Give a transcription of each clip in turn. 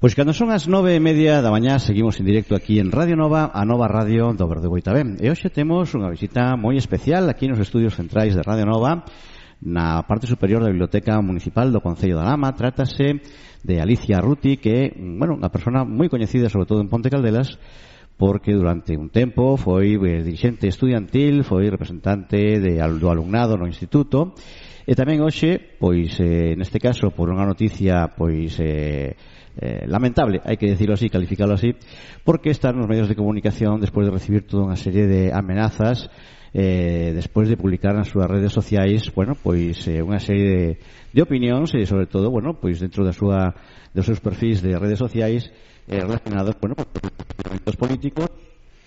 Pois cando son as 9:30 da mañá seguimos en directo aquí en Radio Nova, a Nova Radio do Verde Boitabé. E hoxe temos unha visita moi especial aquí nos estudios centrais de Radio Nova, na parte superior da Biblioteca Municipal do Concello da Lama. Trátase de Alicia Ruti, que é, unha persona moi coñecida sobre todo en Ponte Caldelas, porque durante un tempo foi dirixente estudiantil, foi representante do alumnado no instituto, e tamén hoxe, pois neste caso por unha noticia pois lamentable, hai que decirlo así, calificarlo así, porque está nos medios de comunicación despois de recibir toda unha serie de amenazas despois de publicar nas súas redes sociais, pois unha serie de opinións e sobre todo, pois dentro dos seus perfis de redes sociais relacionados, con os políticos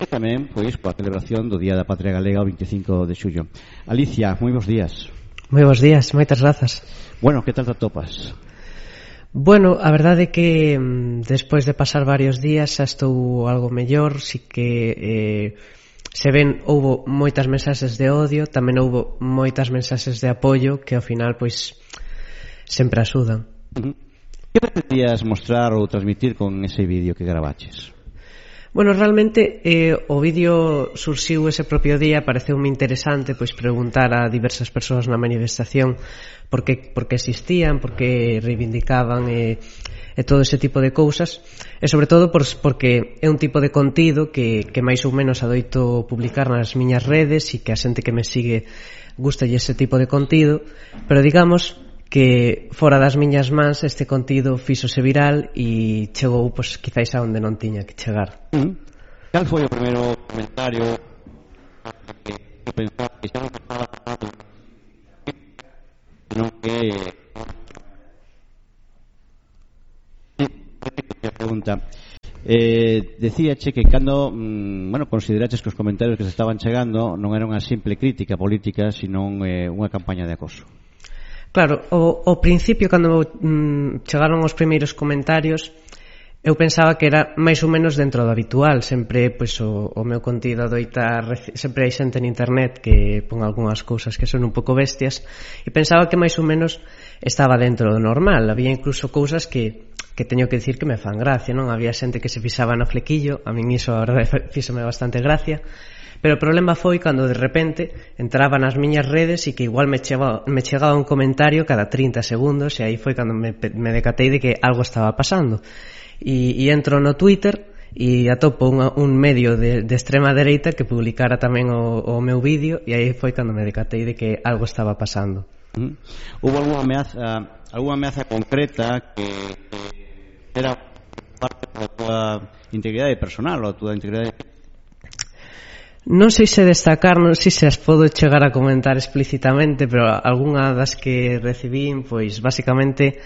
e tamén pois coa celebración do Día da Patria Galega o 25 de xullo. Alicia, moi bons días. Moi bons días, moitas grazas. Que tal te atopas? A verdade é que despois de pasar varios días xa estou algo mellor, si que se ven, houbo moitas mensaxes de odio, tamén houbo moitas mensaxes de apoio que ao final pois sempre axudan. Que pretendías mostrar ou transmitir con ese vídeo que gravaches? Realmente o vídeo surxiu ese propio día, pareceume interesante pois preguntar a diversas persoas na manifestación por que existían, por que reivindicaban e todo ese tipo de cousas, e sobre todo porque é un tipo de contido que máis ou menos adoito publicar nas miñas redes e que a xente que me sigue gustalle ese tipo de contido, pero digamos que fora das miñas mans este contido fíxose viral e chegou quizáis a onde non tiña que chegar. Cal foi o primeiro comentario que pensaba que xa non estaba non que pregunta decíache que cando consideraches que os comentarios que se estaban chegando non era unha simple crítica política, sino unha campaña de acoso. Claro, ao principio cando chegaron os primeiros comentarios eu pensaba que era máis ou menos dentro do habitual. Sempre o meu contido adoita, sempre hai xente en internet que pon algunhas cousas que son un pouco bestias, e pensaba que máis ou menos estaba dentro do normal. Había incluso cousas que teño que dicir que me fan gracia, non? Había xente que se fixaba no flequillo, a min iso a verdade fíxome bastante gracia. Pero o problema foi cando de repente entraba nas miñas redes e que igual me chegaba un comentario cada 30 segundos, e aí foi cando me decatei de que algo estaba pasando. E entro no Twitter e atopo un medio de extrema dereita que publicara tamén o meu vídeo, e aí foi cando me decatei de que algo estaba pasando. Hubo alguna ameaza concreta que era parte da tua integridade personal ou a tua integridade? Non sei se destacar, non sei se as podo chegar a comentar explícitamente, pero algunha das que recibín, pois basicamente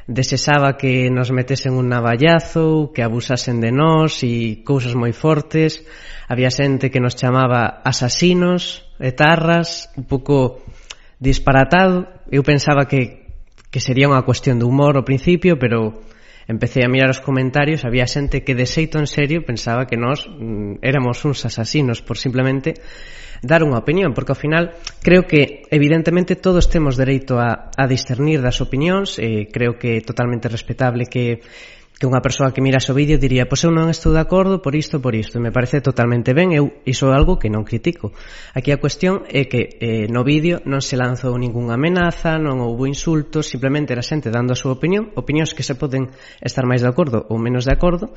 desexaba que nos metesen un navallazo, que abusasen de nós e cousas moi fortes. Había xente que nos chamaba asasinos, etarras, un pouco disparatado. Eu pensaba que sería unha cuestión de humor ao principio, pero empecé a mirar os comentarios, había xente que de xeito en serio pensaba que nós éramos uns asasinos por simplemente dar unha opinión, porque ao final creo que evidentemente todos temos dereito a discernir das opinións, creo que é totalmente respetable que unha persoa que mira o vídeo diría, pois eu non estou de acordo por isto, e me parece totalmente ben, iso é algo que non critico. Aquí a cuestión é que no vídeo non se lanzou ningunha amenaza, non houbo insultos, simplemente era xente dando a súa opinión, opinións que se poden estar máis de acordo ou menos de acordo,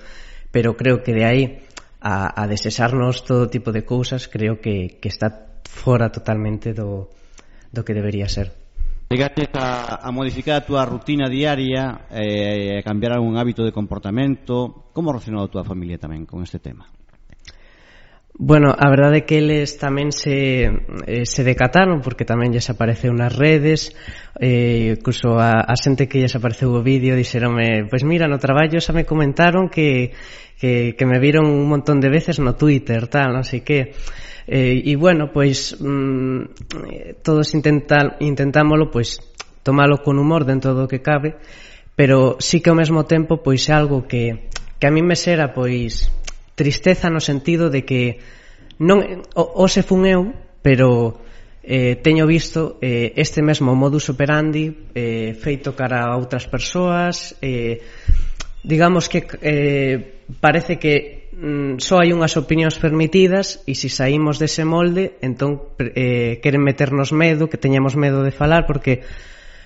pero creo que de aí a desexarnos todo tipo de cousas, creo que está fora totalmente do que debería ser. Chegaste a modificar a túa rutina diaria, a cambiar algún hábito de comportamento. Como reaccionou a túa familia tamén con este tema? A verdade é que eles tamén se decataron, porque tamén lles apareceu nas redes, incluso a xente que lles apareceu o vídeo dixeronme, pois mira, no traballo xa me comentaron que me viron un montón de veces no Twitter, tal, non sei que. E pois todos intentámoslo pois tomalo con humor dentro do que cabe, pero sí que ao mesmo tempo pois é algo que a mí me xera pois tristeza no sentido de que non hoxe fun eu, pero teño visto este mesmo modus operandi feito cara a outras persoas, digamos que parece que só hai unhas opinións permitidas e se saímos dese molde entón queren meternos medo, que teñamos medo de falar, porque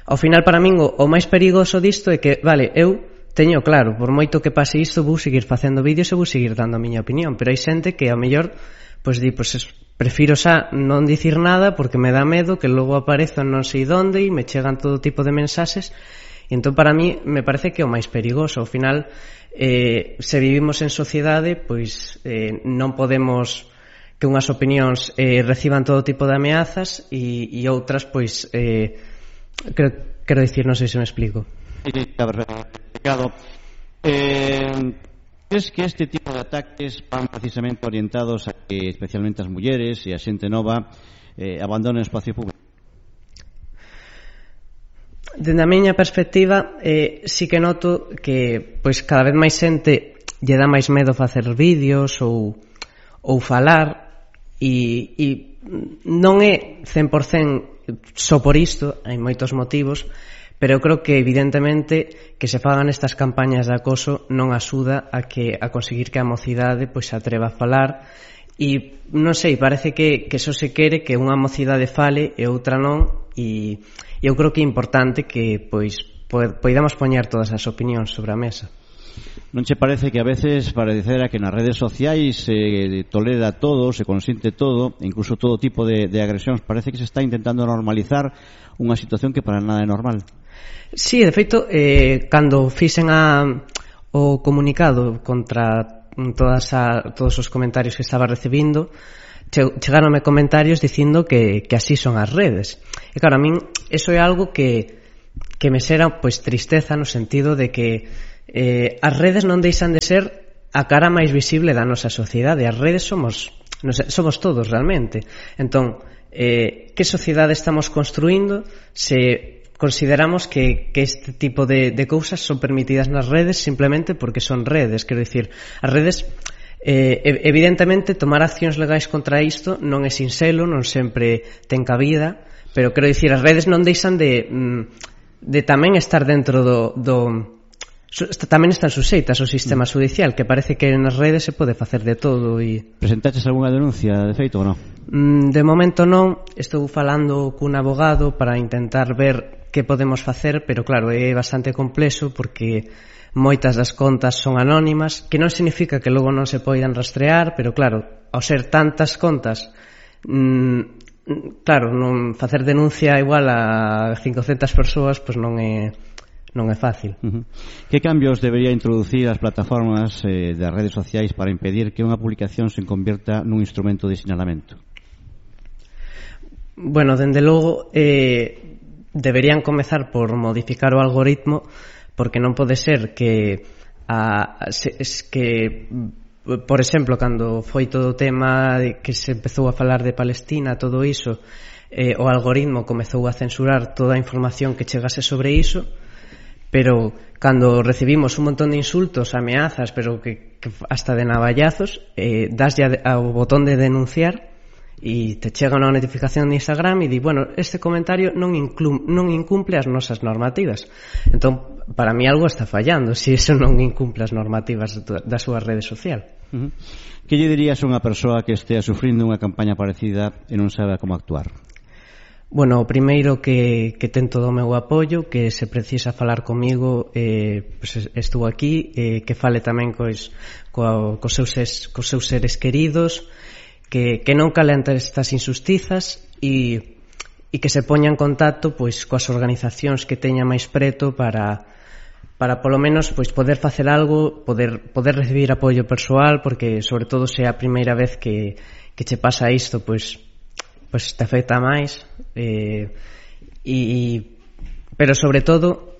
ao final para min o máis perigoso disto é que, vale, eu teño claro, por moito que pase isto vou seguir facendo vídeos e vou seguir dando a miña opinión, pero hai xente que ao mellor pois di, prefiro xa non dicir nada porque me dá medo que logo aparezo non sei onde e me chegan todo tipo de mensaxes. E entón para mí me parece que é o máis perigoso. Ao final, se vivimos en sociedade, pois non podemos que unhas opinións reciban todo tipo de ameazas e outras, pois quero dicir, non sei se me explico. Claro. ¿Crees que este tipo de ataques van precisamente orientados a que especialmente as mulleres e a xente nova abandonen o espacio público? Dende a miña perspectiva, sí que noto que pois cada vez máis xente lle dá máis medo facer vídeos ou falar e non é 100% só por isto, hai moitos motivos, pero eu creo que evidentemente que se fagan estas campañas de acoso non axuda a conseguir que a mocidade pois se atreva a falar. E non sei, parece que só se quere que unha mocidade fale e outra non, e eu creo que é importante que pois poidamos poñer todas as opinións sobre a mesa. Non che parece que a veces parecera que nas redes sociais se tolera todo, se consiente todo, incluso todo tipo de agresións? Parece que se está intentando normalizar unha situación que para nada é normal. Sí, de feito, cando fixen o comunicado contra todos os comentarios que estaba recibindo, chegaronme comentarios dicindo que así son as redes. E claro, a min eso é algo que me xera pois tristeza, no sentido de que as redes non deixan de ser a cara máis visible da nosa sociedade. As redes somos todos realmente. Entón, que sociedade estamos construindo se consideramos que este tipo de cousas son permitidas nas redes simplemente porque son redes? Quero dicir, as redes evidentemente tomar accións legais contra isto non é sinxelo, non sempre ten cabida, pero quero dicir, as redes non deixan de tamén estar dentro tamén están suxeitas ao sistema judicial, que parece que nas redes se pode facer de todo. Presentaches algunha denuncia de feito ou non? De momento non, estou falando cun abogado para intentar ver que podemos facer, pero claro, é bastante complexo porque moitas das contas son anónimas, que non significa que logo non se poidan rastrear, pero claro, ao ser tantas contas, claro, non facer denuncia igual a 500 persoas, pois non é fácil. Que cambios debería introducir as plataformas das redes sociais para impedir que unha publicación se convierta nun instrumento de sinalamento? Bueno, dende logo deberían comezar por modificar o algoritmo, porque non pode ser que por exemplo, cando foi todo o tema de que se empezou a falar de Palestina, todo iso, o algoritmo comezou a censurar toda a información que chegase sobre iso, pero cando recibimos un montón de insultos, ameazas, pero que hasta de navallazos, daslle ao botón de denunciar e te chega unha notificación de Instagram e di, bueno, este comentario non incumple as nosas normativas. Entón, para mí algo está fallando se iso non incumple as normativas da súa rede social. Que lle dirías a unha persoa que estea sufrindo unha campaña parecida e non sabe como actuar? Bueno, o primeiro que ten todo o meu apoio, que se precisa falar comigo, pues estou aquí, que fale tamén cos seus seres queridos, que non calenten estas injustizas e que se poña en contacto pois coas organizacións que teña máis preto para polo menos pois poder facer algo, poder recibir apoio persoal, porque sobre todo se é a primeira vez que che pasa isto, pois te afecta máis, pero sobre todo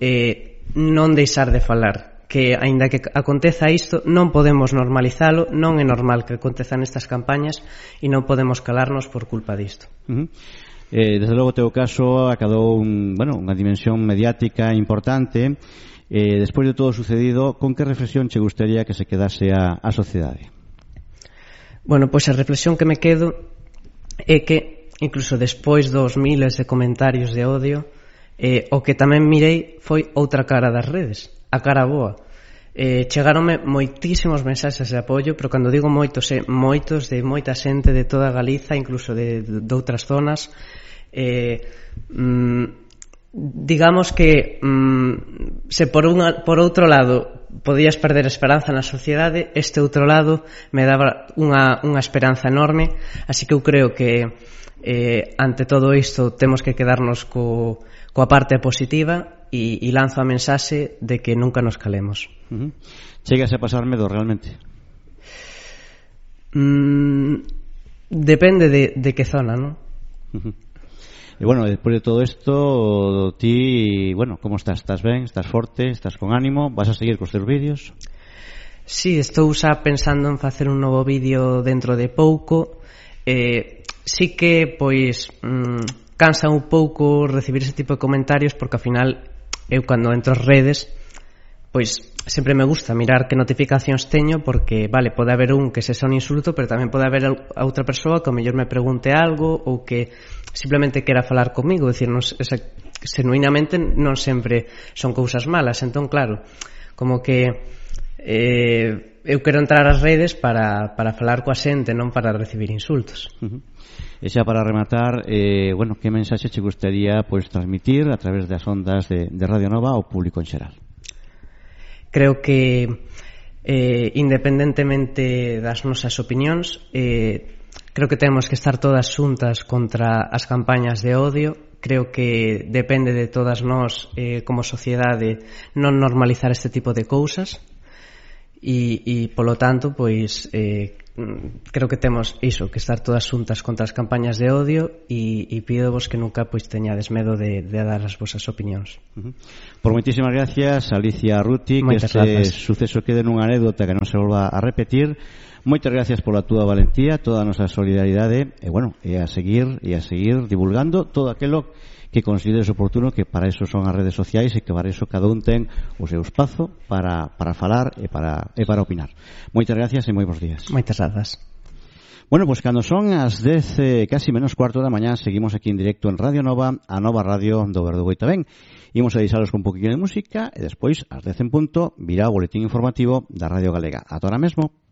non deixar de falar, que aínda que aconteza isto non podemos normalizalo, non é normal que acontezan estas campañas e non podemos calarnos por culpa disto. Desde logo o teu caso acadou unha dimensión mediática importante. Despois de todo o sucedido, con que reflexión che gustaría que se quedase a sociedade? Bueno, pois a reflexión que me quedo é que incluso despois dos miles de comentarios de odio, o que tamén mirei foi outra cara das redes, a cara boa. chegaronme moitísimos mensaxes de apoio, pero cando digo moitos, moitos de moita xente de toda Galiza, incluso de outras zonas. Digamos que se por outro lado podías perder esperanza na sociedade, este outro lado me daba unha esperanza enorme, así que eu creo que ante todo isto temos que quedarnos coa parte positiva e lanzo a mensaxe de que nunca nos calemos. Chegas a pasar medo realmente? Depende de que zona, non? E bueno, despois de todo isto, ti, bueno, como estás? Estás ben? Estás forte? Estás con ánimo? Vas a seguir cos teus vídeos? Sí, estou xa pensando en facer un novo vídeo dentro de pouco. Sí que, pois, cansa un pouco recibir ese tipo de comentarios, porque ao final eu cando entro ás redes, pois sempre me gusta mirar que notificacións teño, porque, vale, pode haber un que se xa un insulto, pero tamén pode haber a outra persoa que ao mellor me pregunte algo ou que simplemente quera falar comigo, decir, genuinamente non sempre son cousas malas. Entón, claro, como que eu quero entrar ás redes para falar coa xente, non para recibir insultos. E xa para rematar, bueno, que mensaxe che gustaría pois transmitir a través das ondas de Radio Nova ao público en xeral? Creo que independentemente das nosas opinións, creo que temos que estar todas xuntas contra as campañas de odio. Creo que depende de todas nós como sociedade non normalizar este tipo de cousas e polo tanto, pois creo que temos iso, que estar todas xuntas contra as campañas de odio e pídovos que nunca pois teñades medo de dar as vosas opinións. Por moitísimas gracias, Alicia Ruti, que este suceso quede nunha anécdota que non se volva a repetir. Moitas gracias pola túa valentía, toda a nosa solidaridade e bueno, e a seguir divulgando todo aquilo que consideres oportuno, que para eso son as redes sociais e que para eso cada un ten o seu espazo para falar e para opinar. Moitas gracias e moi bons días. Moitas grazas. Bueno, pues cando son as 10, casi menos cuarto da mañá, seguimos aquí en directo en Radio Nova, a Nova Radio do Verdugo Itabén. Imos a deixaros con un poquinho de música e despois, ás 10 en punto, virá o boletín informativo da Radio Galega. Ata ahora mesmo.